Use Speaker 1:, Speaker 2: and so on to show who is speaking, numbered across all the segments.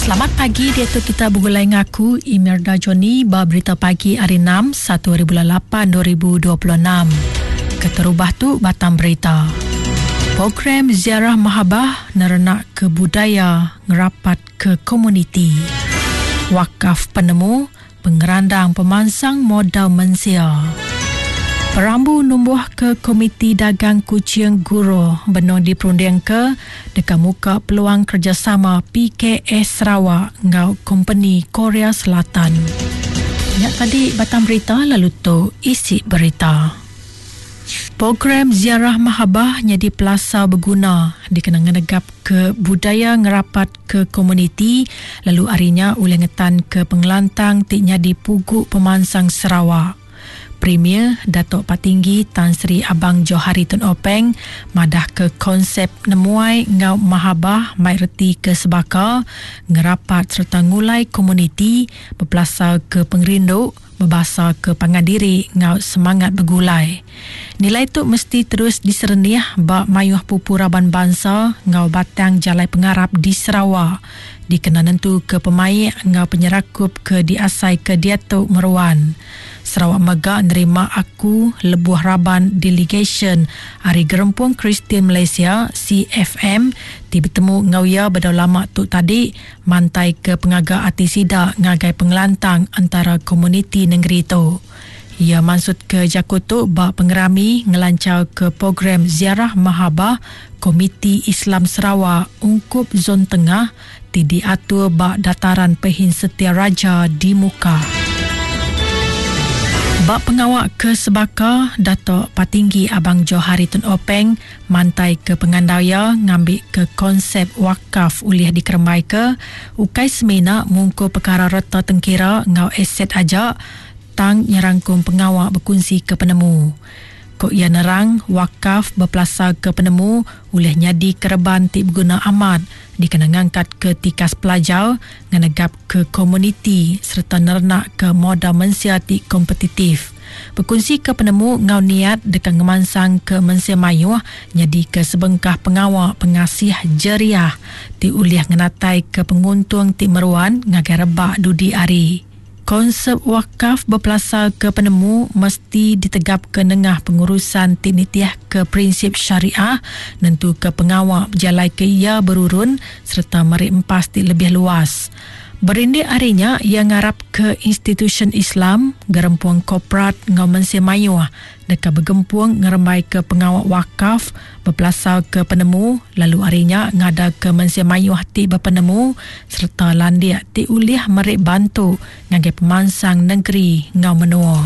Speaker 1: Selamat pagi diatu kita begulai ngaku Imelda Johnny ba berita pagi hari 6 1 hari bulan 8 2026. Keterubah tu batang berita. Program Ziarah Mahabah nerenak ke budaya ngerapat ke komuniti. Wakaf penemu Pengerandang pemansang modal mensia. Perambu numbuhka Komiti Dagang Kuching Guro benung diperundingka deka muka peluang kerejasama PKS Sarawak enggau kompeni Korea Selatan. Nya tadi batang berita lalu tu isi berita. Program Ziarah Mahabah nyadi pelasar beguna dikena ngenegapka budaya ngerapatka komuniti lalu ari nya ulih ngetanka pengelantang ti nyadi pugu pemansang Sarawak. Premier Datuk Patinggi Tan Sri Abang Johari Tun Openg madahka konsep nemuai enggau mahabah mai reti ke sebaka, ngerapat sereta ngulai komuniti bepelasarka pengerindu, bebasa ke pangan diri enggau semangat begulai. Nilai tu mesti terus diserenih ba mayuh pupu raban bansa enggau batang jalai pengarap di Sarawak dikena nentuka pemaik enggau penyerakup ke diasaika diatu meruan. Sarawak mega nerima aku lebuh raban delegasyen ari Gerempung Kristian Malaysia, CFM, ti betemu enggau iya bedau lama tu tadi mantaika pengaga ati sida ngagai pengelantang entara komuniti nengeri tu. Iya mansutka jaku tu ba pengerami ngelancharka program Ziarah Mahabah Komiti Islam Sarawak ungkup Zon Tengah ti diatur ba Dataran Pehin Setia Raja di Mukah. Ba pengawa ke sebaka, Datuk Patinggi Abang Johari Tun Openg Mantaika pengandal iya ngambika konsep wakaf ulih dikerembaika ukai semina mungkur pekara reta tengkira enggau aset aja tang nyerangkum pengawa bekunsika penemu. Ku iya nerang, wakaf bepelasarka penemu ulih nyadi kereban ti beguna amat dikena ngangkatka tikas pelajar, ngenegapka komuniti sereta nerenakka modal mensia ti kompetitif. Bekunsika penemu enggau niat deka ngemansangka mensia mayuh nyadika sebengkah pengawa pengasih jeriah ti ulih ngenataika penguntung ti meruan ngagai rebak dudi hari. Konsep wakaf bepelasarka penemu mesti ditegapka nengah pengurusan ti nitihka prinsip syariah nentuka pengawa bejalaika iya berurun sereta meri empas ti lebih luas. Berindik ari nya, iya ngarapka institusyen Islam, gerempung korporat enggau mensia mayuh deka begempung ngerembaika pengawa wakaf bepelasarka penemu lalu ari nya ngadaka mensia mayuh ti bepenemu sereta landik ti ulih meri bantu ngagai pemansang nengeri enggau menua.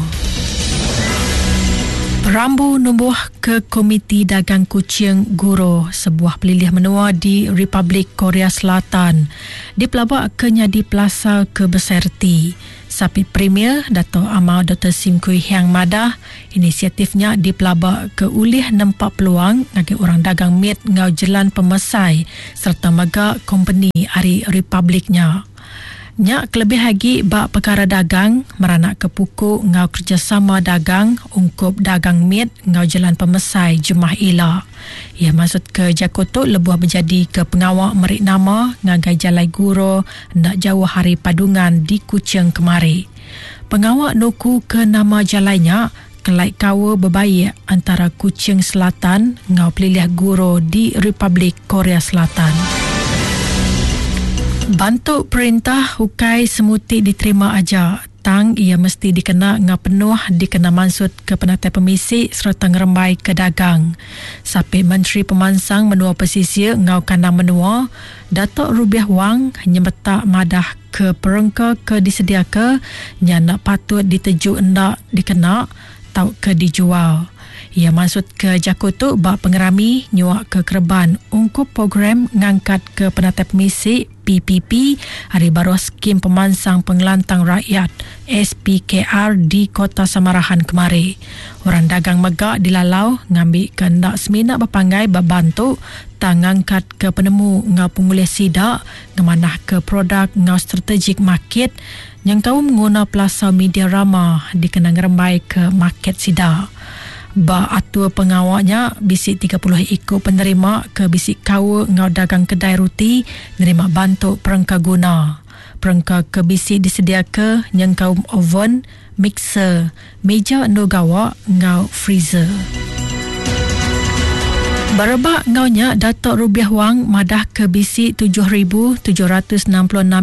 Speaker 1: Perambu numbuhka Komiti Dagang Kuching Guro, sebuah pelilih menua di Republik Korea Selatan, dipelaba ke nyadi pelasar ke besai reti. Sapit Premier, Datuk Amar Doktor Sim Kui Hiang madah, inisiatif nya dipelaba ke ulih nempa peluang ngagai orang dagang mit enggau jelan pemesai sereta mega kompeni ari republik nya. Nya kelebih agi ba pekara dagang, meranakka puku enggau kerejasama dagang ungkup dagang mit enggau jelan pemesai jemah ila. Iya mansutka jaku tu lebuh bejadika pengawa meri nama ngagai Jalai Guro enda jauh ari Padungan di Kuching kemari. Pengawa nukuka nama jalai nya kelai kaul bebaik antara Kuching Selatan enggau Pelilih Guro di Republik Korea Selatan. Bantu perintah ukai semuti diterima aja, tang iya mesti dikena enggau penuh dikena mansutka penatai pemisi sereta ngerembaika dagang. Sapit Menteri Pemansang Menua Pesisir enggau Kandang Menua, Datuk Rubiah Wang nyemetak madah ke perengka ke disediaka nya enda patut diteju enda dikena tauka dijual. Iya mansutka jaku tu ba pengerami nyuaka kereban ungkup program ngangkatka penatai pemisi, PPP, ari baruh Skim Pemansang Pengelantang Rakyat, SPKR, di Kota Samarahan kemari. Orang dagang mega dilalau ngambika enda semina bepanggai ba bantu tang ngangkatka penemu enggau pengulih sida ngemanahka produk enggau strategik makit nyengkaum nguna pelasar media rama dikena ngerembaika market sida. Ba atur pengawa nya, bisi 30 iku penerima ke bisi kaul enggau dagang kedai ruti nerima bantu perengka guna. Perengka ke bisi disediaka nyengkaum oven, mixer, meja endur gawa enggau freezer. Berebak enggau nya, Datuk Rubiah Wang madahka bisi 7,766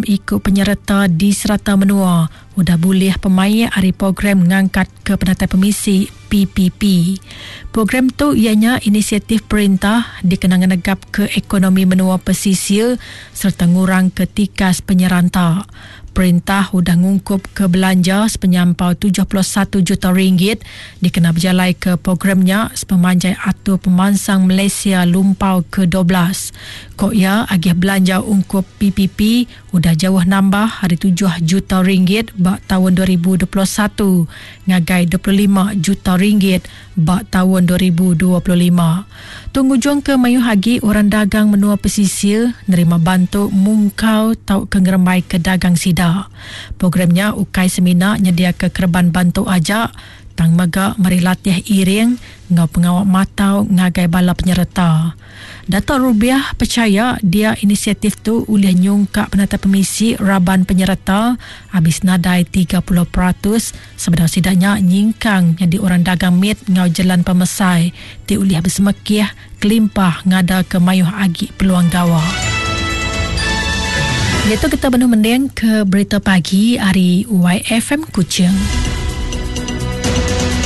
Speaker 1: iku penyereta di serata menua udah bulih pemaik ari program ngangkatka penatai pemisi, PPP. Program tu iya nya inisiatif perintah dikena ngenegapka ekonomi menua pesisir sereta ngurangka tikas penyeranta. Perintah udah ngungkupka belanja sepenyampau 71 juta ringgit dikena bejalaika program nya sepemanjai Atur Pemansang Malaysia Lumpau ke 12. Ku iya, agih belanja ungkup PPP udah jauh nambah ari tujuh juta ringgit ba taun 2021 ngagai 25 juta ringgit ba taun 2025. Tu ngujungka mayuh agi orang dagang menua pesisir nerima bantu mungkal tauka ngerembaika dagang sida. Program nya ukai semina nyediaka kereban bantu aja tang mega meri latih iring enggau pengawa matau ngagai bala penyereta. Datuk Rubiah pechaya dia inisiatif tu ulih nyungkak penatai pemisi raban penyereta abis nadai 30% sebedau sida nya nyingkang nyadi orang dagang mit enggau jelan pemesai ti ulih besemekih kelimpah ngadaka mayuh agi peluang gawa. Diatu kita benung mending ke berita pagi ari YFM Kuching.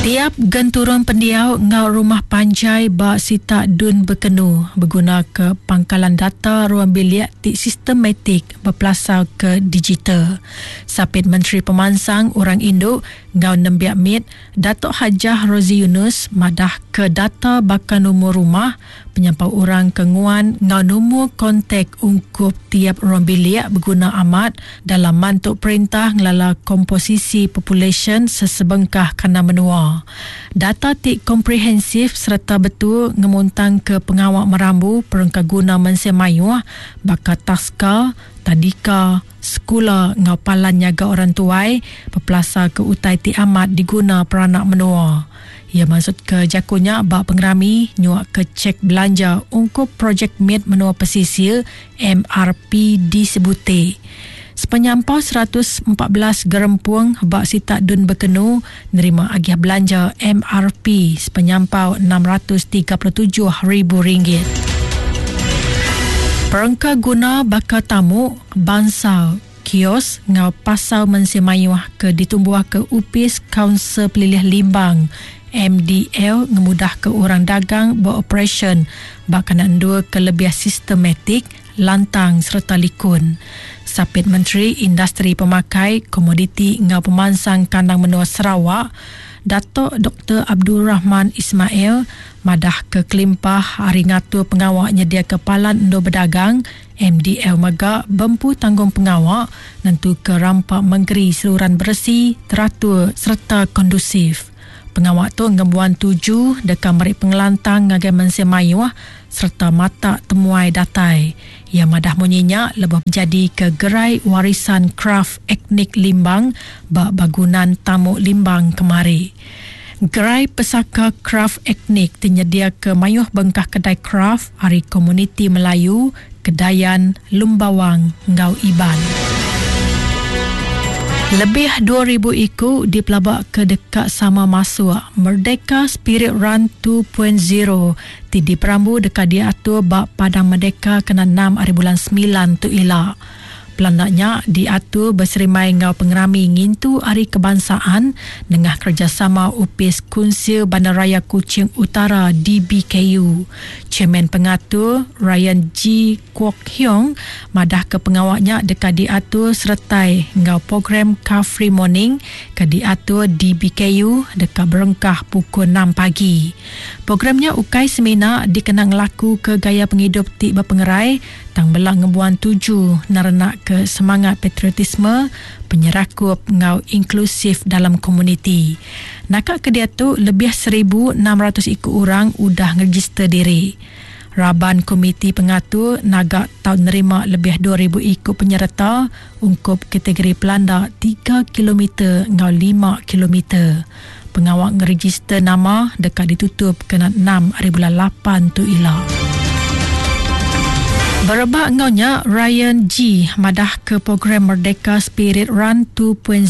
Speaker 1: Tiap genturung pendiau enggau rumah panjai ba sitak Dun Bekenu begunaka pangkalan data ruang bilik ti sistematik bepelasarka digital. Sapit Menteri Pemansang Orang Indu enggau Nembiak Mit, Datuk Hajah Rosey Yunus madahka data baka numur rumah, Penyampau orang ke nguan enggau numur kontak ungkup tiap ruang bilik beguna amat dalam mantu perintah ngelala komposisi populasyen sesebengkah kandang menua. Data ti komprehensif sereta betul ngemuntangka pengawa merambu perengkaguna mensia mayuh baka taska, tadika, sekula enggau palan nyaga orang tuai bepelasarka utai ti amat diguna peranak menua. Iya mansutka jaku nya ba pengerami nyuaka chek belanja ungkup Projek Mit Menua Pesisir, MRP, di Sibuti. Sepenyampau 114 gerempung ba sitak Dun Bekenu nerima agih belanja MRP sepenyampau 637 ribu ringgit. Perengka guna baka tamu, bansal, kios enggau pasar mensia mayuh ke ditumbuhka Opis Kaunsil Pelilih Limbang, MDL, ngemudahka orang dagang beoperasyen ba kandang endur ke lebih sistematik, lantang sereta likun. Sapit Menteri Industri Pemakai, Komoditi enggau Pemansang Kandang Menua Sarawak, Datuk Doktor Abdul Rahman Ismail madahka kelimpah ari ngatur pengawa nyediaka palan endur bedagang, MDL mega bempu tanggungpengawa nentuka rampa mengeri seruran beresi, teratur sereta kondusif. Pengawa tu ngembuan tuju deka meri pengelantang ngagai mensia mayuh sereta matak temuai datai. Iya madah munyi nya lebuh bejadika Gerai Warisan Kraf Etnik Limbang ba Bagunan Tamu Limbang kemari. Gerai Pesaka Kraf Etnik ti nyediaka mayuh bengkah kedai kraf ari komuniti Melayu, Kedayan, Lumbawang enggau Iban. Lebih 2,000 iku dipelabaka deka sama masuk Merdeka Spirit Run 2.0 ti diperambu deka diatur ba Padang Merdeka kena enam ari bulan semilan tu ila. Pelanda nya diatur beserimbai enggau pengerami ngintu Hari Kebangsaan nengah kerejasama Opis Kunsil Bandaraya Kuching Utara, DBKU. Chairman Pengatur, Ryan G. Kwok Hiong madahka pengawa nya deka diatur seretai enggau program Car Free Morning ke diatur DBKU deka berengkah pukul enam pagi. Program nya ukai semina dikena ngelakuka gaya pengidup ti bepengerai tang bela ngembuan tuju nerenakka semangat patriotisme, penyerakup enggau inklusif dalam komuniti. Naka ke diatu lebih 1,600 iku orang udah ngerejister diri. Raban komiti pengatur naga tau nerima lebih 2,000 iku penyereta ungkup kategori pelanda tiga kilometer enggau lima kilometer. Pengawa ngerejister nama deka ditutup kena enam ari bulan lapan tu ila. Berebak enggau nya, Ryan G madahka program Merdeka Spirit Run 2.0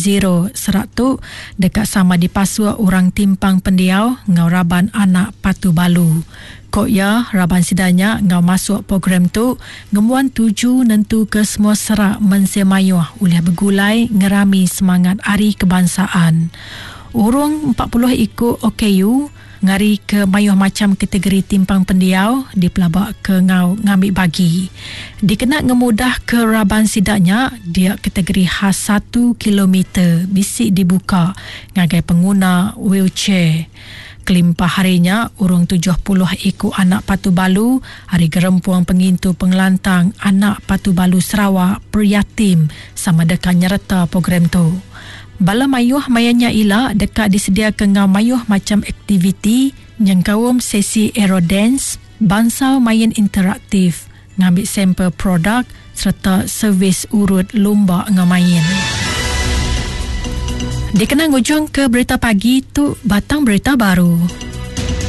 Speaker 1: serak tu deka sama dipasuk orang timpang pendiau enggau raban anak patu balu. Ko iya, raban sida nya enggau masuk program tu ngembuan tuju nentuka semua serak mensia mayuh ulih begulai ngerami semangat Hari Kebangsaan. Urung 40 iku OKU ngarika mayuh macham kategori timpang pendiau dipelabaka enggau ngambi bagi. Dikena ngemudahka raban sida nya, dia kategori khas satu kilometer bisi dibuka ngagai penguna wheelchair. Kelimpah ari nya, urung 70 iku anak patu balu ari Gerempung Pengintu Pengelantang Anak Patu Balu Sarawak, Priyatim, sama deka nyereta program tu. Bala mayuh maya nya ila deka disediaka enggau mayuh macham aktiviti nyengkaum sesi aerodance, bansal main interaktif, ngambi sampel produk sereta servis urut lumba enggau main. Dikena ngujungka berita pagi tu batang berita baru.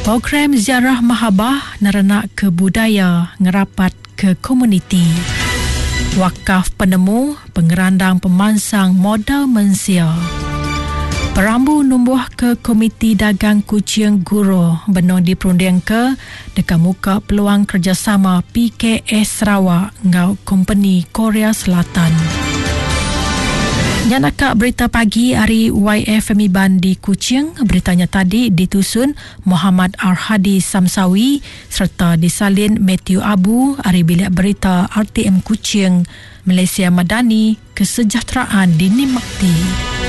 Speaker 1: Program Ziarah Mahabah nerenakka budaya ngerapatka komuniti. Wakaf penemu pengerandang pemansang modal mensia. Perambu numbuhka Komiti Dagang Kuching Guro benung diperundingka deka muka peluang kerejasama PKS Sarawak enggau kompeni Korea Selatan. Nya naka berita pagi ari YFM Iban di Kuching. Berita nya tadi ditusun Mohamad Arhadi Samsawi sereta disalin Mathew Abu ari Bilik Berita RTM Kuching, Malaysia Madani, Kesejahteraan Dinikmati.